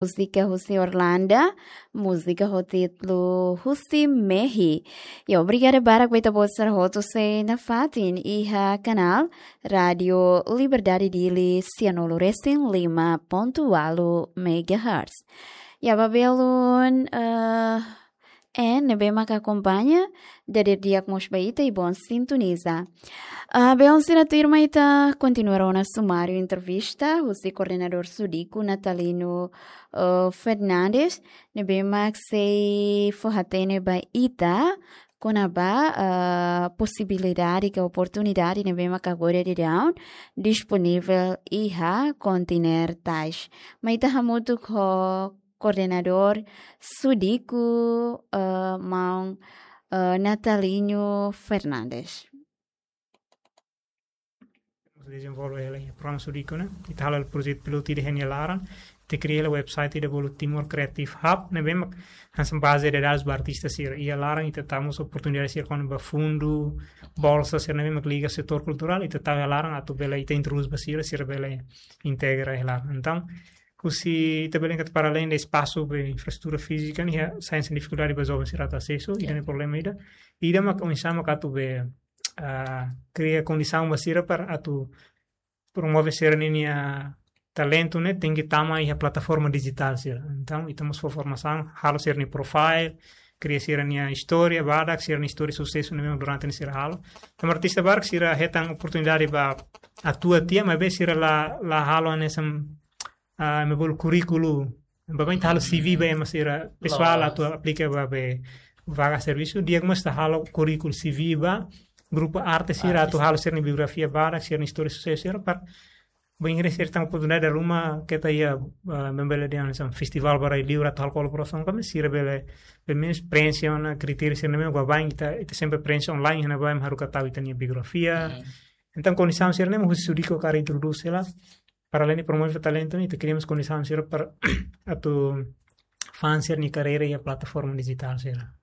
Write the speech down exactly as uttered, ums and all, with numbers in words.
múzika husi Orlanda, múzika ho títulu Husi Mehi. Ya, obrigada barak ba ita-boot sira hotu sei nafatin iha kanál Rádiu Liberdade Dili sianulu resin lima pontu ualu megahertz. Ya, ba belun, eh, en ne'ebé maka akompaña, dadeer di'ak mós ba ita i bom sintoniza. Ah, belun sira, tuirmai ita kontinua ona sumáriu entrevista husi koordenadór Sudiku Natalino, eh, Fernandes, ne'ebé mak sei fó-hatene ba ita kona-ba, ah, posibilidade ka oportunidade ne'ebé mak agora daudaun disponivel iha Continer tais. Mai ita hamutuk ho koordenadór Sudiku, eh, maun, eh, Natalino Fernandes. Dezenvolve hela iha programa Sudiku ne'e, ita halo projetu pilotu ida iha nia laran, ita kria hela website ida bolu Timor Creative Hub, ne'ebé mak hanesan baze de dadus ba artista sira. Iha laran ita tau mós oportunidade sira kona-ba fundu, bolsa sira ne'ebé mak liga setór kulturál, ita tau iha laran atu bele ita introdús ba sira, sira bele integra iha laran. Entaun, husi ita bele katak para além de espasu be infraestrutura fízika ne'e, sai hanesan difikuldade ba joven sira atu asesu, ida-ne'e problema ida. Ida mak oinsá mak atu be, ah, kria kondisaun ba sira para atu promove sira-nia talentu ne'e tenke tama iha plataforma dijitál sira. Entaun, ita mós fó formasaun, halo sira-nia profile, kria sira-nia istória badak, sira-nia istória susesu ne'ebé durante ne'e sira halo. Entaun, artista barak sira hetan oportunidade ba atua tiha, maibé sira la, la halo hanesan, ah, ema bolu kurríkulu. Baibain ita halo C V ba ema sira pesoál atu aplika ba be vaga servisu, di'ak mós ita halo kurríkulu C V ba grupu arte sira atu halo sira-nia biografia badak, sira-nia istória susesu sira para bainhira sira hetan oportunidade ruma keta iha, ah, membele de hanesan festivál ba rai-li'ur atu halo kolaborasaun, kami sira bele, pelumenus preenxe ona kritéria sira ne'ebé baibain ita, ita sempre preenxe online, ne'ebé ema haruka tau ita-nia biografia. Entaun, kondisaun sira-ne'e mak husi Sudiku hakarak introdús hela, para além de promove talentu ne'e, ita kria mós kondisaun sira para atu fa'an sira-nia karreira iha plataforma dijitál sira.